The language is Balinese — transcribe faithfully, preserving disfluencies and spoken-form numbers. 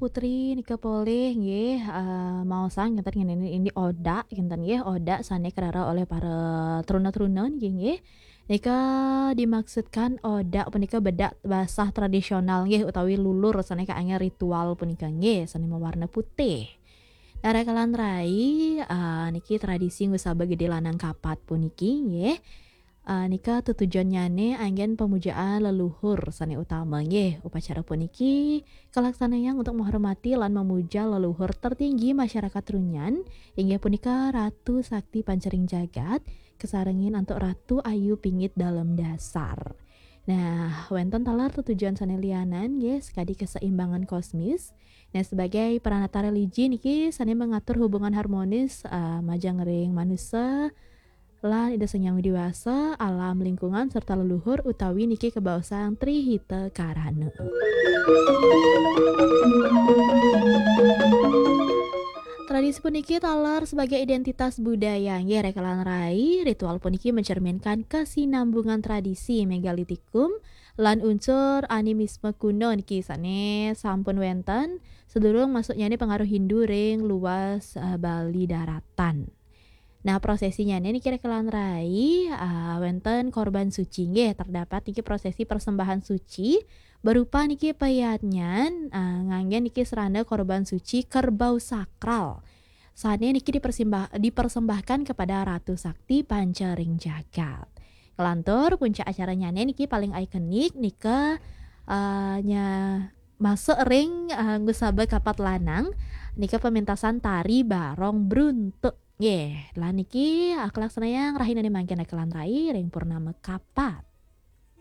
Putri nika polih nggih, eh, maosang kinten ngene ini odak kinten nggih, odak sane kerara oleh para truna-truna niki nggih. Nika dimaksudkan odak punika bedak basah tradisional nggih utawi lulur sane kaangge ritual punika nggih, sane mawarna putih. Nah, Raka lan Rai, eh, niki tradisi ngusaba gede lanang kapat puniki nggih. Eh, nika tetujonnyane anggen pemujaan leluhur sane utama nggih. Upacara puniki kalaksanayang untuk menghormati lan memuja leluhur tertinggi masyarakat Trunyan, inggih punika Ratu Sakti Pancering Jagat, kesarengin antuk Ratu Ayu Pingit Dalem Dasar. Nah, wenten taler tetujon sane lianan nggih, sekadi keseimbangan kosmis. Nah, sebagai pranata religi niki sane mengatur hubungan harmonis, eh, majeng ring manusa, lan Ida Sang Hyang Widi Wasa, alam lingkungan, serta leluhur utawi niki kabaosang Tri Hita Karana. Tradisi puniki taler sebagai identitas budaya nggih, Raka lan Rai. Ritual puniki mencerminkan kesinambungan tradisi megalitikum lan unsur animisme kuno niki sane sampun wenten sedurung masuknyane pengaruh Hindu ring luas, eh, Bali daratan. Nah, prosesinyane niki, Raka lan Rai, eh, wenten korban suci nggih, terdapat niki prosesi persembahan suci berupa niki peyatnyan, eh, nganggen niki serana korban suci kerbau sakral. Sane niki dipersimbah-, dipersembahkan kepada Ratu Sakti Pancering Jagat. Ngelantur puncak acaranyane niki paling ikonik nika, eh, nya masuk ring, eh, ngusaba kapat lanang nika pementasan tari barong bruntuk. Nggih, lan niki, eh, kalaksanayang rahinane mangkin, Raka lan Rai, ring purnama kapat.